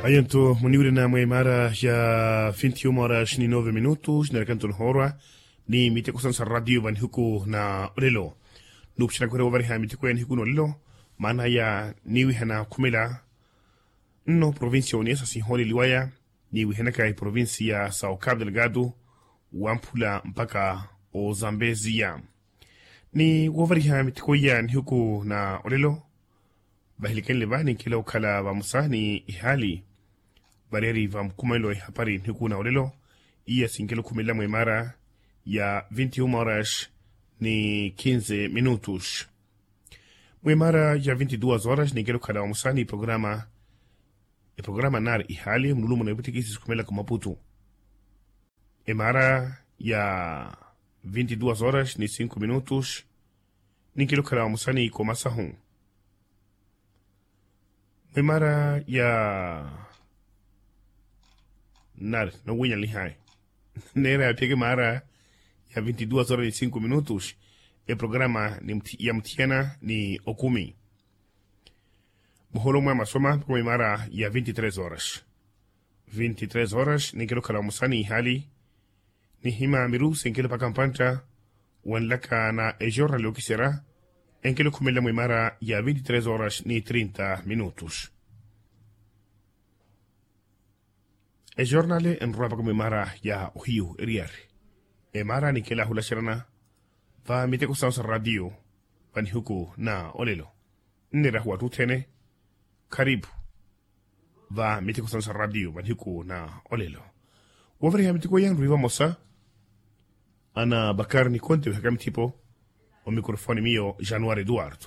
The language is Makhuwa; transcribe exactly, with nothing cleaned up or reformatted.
Ayantu muniwirina mwa imara ya vinti uma horas ni nove minutos narikantu nihoorwa ni miteko sansa radio va nihuku na olelo. Nupushanakwerya wovariha miteko ya nihuku na olelo maana ya niwihana khumela nno provincia uniesa sinhooleliwaya niwihanaka iprovincia sa okapu delgado wamphula mpaka ozambezia. Ni woovariha miteko iya nihuku na olelo vahilikenle va ninkela okhala vamosa ni ihaali variyari va mukumanelo wa ihapari nihuku na olelo iya sinkela okhumelela mwa imara ya vinti uma horas ni kinze minutos. Mwa imara ya vinti duas horas ninkela okhala vamosa ni programa eprograma nari ihaali munulumo na epwitikisi sikhumelaka omaputu. Emara ya vinti duas horas ni cinco minutos ninkela okhala vamosa ni ikomasahu. Mwa emara ya nari nowinyanlihayi neera yaphiyaka emara ya vinti duas horas ni cinco minutos eprograma ya muthiyana ni okumi. Muholo mwa masoma mpaka mwa imara ya vinti tres horas. Vinti tres horas ninkela okhala vamosa ni ihaali nihima miru sinkela opaka mpantta wanlaka na ejornali yokiserya enkela okhumelela mwa imara ya vinti tres horas ni trinta minutos. Ejornali enrowa mpaka mwa imara ya ohiyu eriyari. Emara ninkela ahulaxerana va miteko sawo sa radio va nihuku na olelo. Nneerahu wattu othene kharipu va miteko sawo sa radio va nihuku na olelo. Woovariha miteko iya nrwi vamosa ana bakari nikonte wihaka mithipo omikrofoni miyo januari eduwardo.